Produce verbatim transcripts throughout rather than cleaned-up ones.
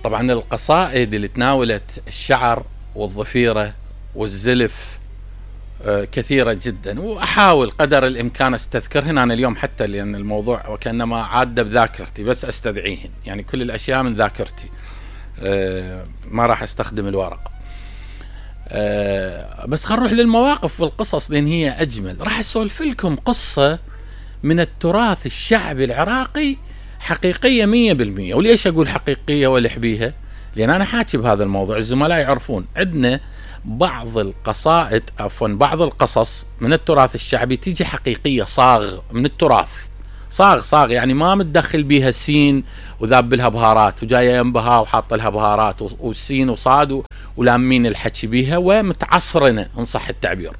طبعا القصائد اللي تناولت الشعر والضفيرة والزلف كثيرة جدا، وأحاول قدر الإمكان أستذكرهن أنا اليوم، حتى لأن الموضوع وكأنما عادة بذاكرتي، بس أستدعيهن، يعني كل الأشياء من ذاكرتي، ما راح أستخدم الورق. بس خلينا نروح للمواقف والقصص لأن هي أجمل. راح أسولف لكم قصة من التراث الشعبي العراقي حقيقية مية بالمية. وليش أقول حقيقية والحبيها؟ لأن أنا حاكي بهذا الموضوع، الزملاء يعرفون عندنا بعض القصائد عفوا بعض القصص من التراث الشعبي تيجي حقيقية صاغ من التراث، صاغ صاغ يعني ما متدخل بيها سين وذاب لها بهارات وجاية ينبها وحاط لها بهارات والسين وصاد ولامين الحكي بيها ومتعصرنة إن صح التعبير.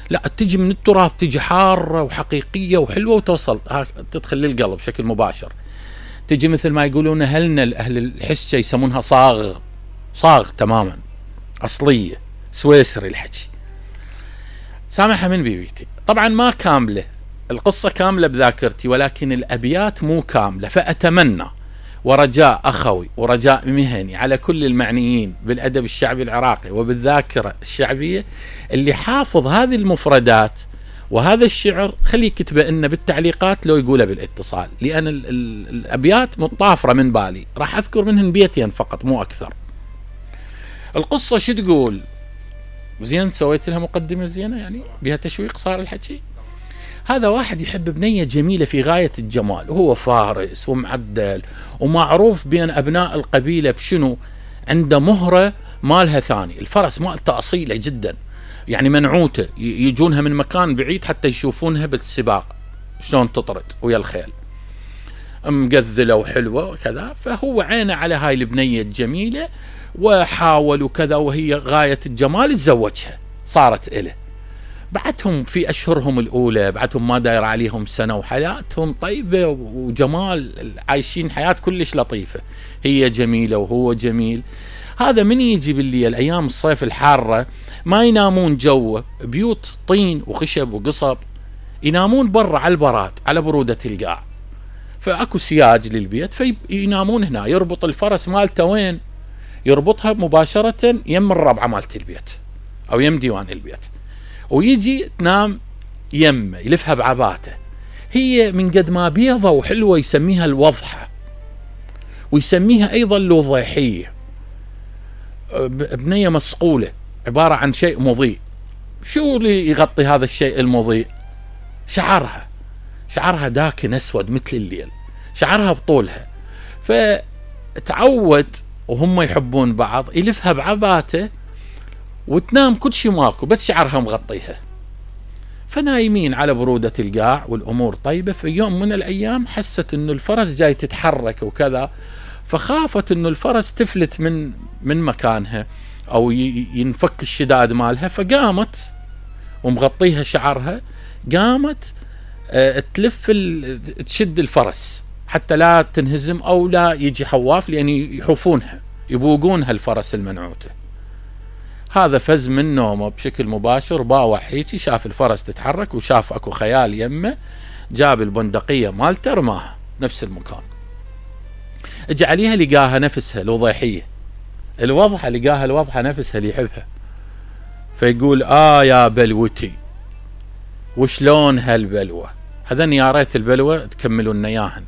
لا، تجي من التراث، تجي حارة وحقيقية وحلوة وتوصل تدخل للقلب بشكل مباشر. تجي مثل ما يقولون أهلنا أهل الحسة يسمونها صاغ، صاغ تماما أصلية سويسري الحكي. سامحها من بيبيتي. طبعا ما كاملة القصة كاملة بذاكرتي، ولكن الأبيات مو كاملة، فأتمنى ورجاء أخوي ورجاء مهني على كل المعنيين بالأدب الشعبي العراقي وبالذاكرة الشعبية اللي حافظ هذه المفردات وهذا الشعر خليه يكتبه لنا بالتعليقات لو يقوله بالاتصال، لأن ال ال الأبيات مطافرة من بالي، راح أذكر منهن بيتين فقط مو أكثر. القصة شو تقول؟ زين سويت لها مقدمة زينة يعني بها تشويق صار الحكي. هذا واحد يحب بنية جميلة في غاية الجمال، وهو فارس ومعدل ومعروف بين أبناء القبيلة بشنو؟ عنده مهرة مالها ثاني، الفرس مالته أصيلة جدا، يعني منعوته يجونها من مكان بعيد حتى يشوفونها بالسباق شلون تطرد ويا الخيل، مقذلة وحلوة وكذا. فهو عينه على هاي البنية الجميلة وحاول وكذا، وهي غاية الجمال تزوجها، صارت إله. بعدهم في أشهرهم الأولى، بعدهم ما داير عليهم سنة وحياتهم طيبة وجمال، عايشين حياة كلش لطيفة، هي جميلة وهو جميل. هذا من يجي بالليل أيام الصيف الحارة ما ينامون جوه، بيوت طين وخشب وقصب، ينامون برا على البراد على برودة القاع، فأكو سياج للبيت فينامون هنا. يربط الفرس مالته وين؟ يربطها مباشرة يم الربعة مالت البيت أو يم ديوان البيت، ويجي تنام يمه يلفها بعباته. هي من قد ما بيضة وحلوة يسميها الوضحة، ويسميها أيضا الوضيحية، بنية مسقولة عبارة عن شيء مضيء. شو اللي يغطي هذا الشيء المضيء؟ شعرها، شعرها داكن أسود مثل الليل، شعرها بطولها. فتعود وهم يحبون بعض يلفها بعباته وتنام كل شيء ماكو بس شعرها مغطيها. فنايمين على برودة القاع والأمور طيبة. في يوم من الأيام حست إنه الفرس جاي تتحرك وكذا، فخافت إنه الفرس تفلت من من مكانها أو ينفك الشداد مالها، فقامت ومغطيها شعرها، قامت اه تلف تشد الفرس حتى لا تنهزم أو لا يجي حواف، لأن يحوفونها يبوقونها الفرس المنعوته. هذا فز من نومه بشكل مباشر، باوع هيجي شاف الفرس تتحرك وشاف اكو خيال يمه، جاب البندقية مالته رماها نفس المكان. اجى عليها لقاها نفسها الوضيحية الوضحة، لقاها الوضحة نفسها اللي يحبها. فيقول آه يا بلوتي وشلون هالبلوة؟ هذن يا ريت البلوة تكملون اياهن.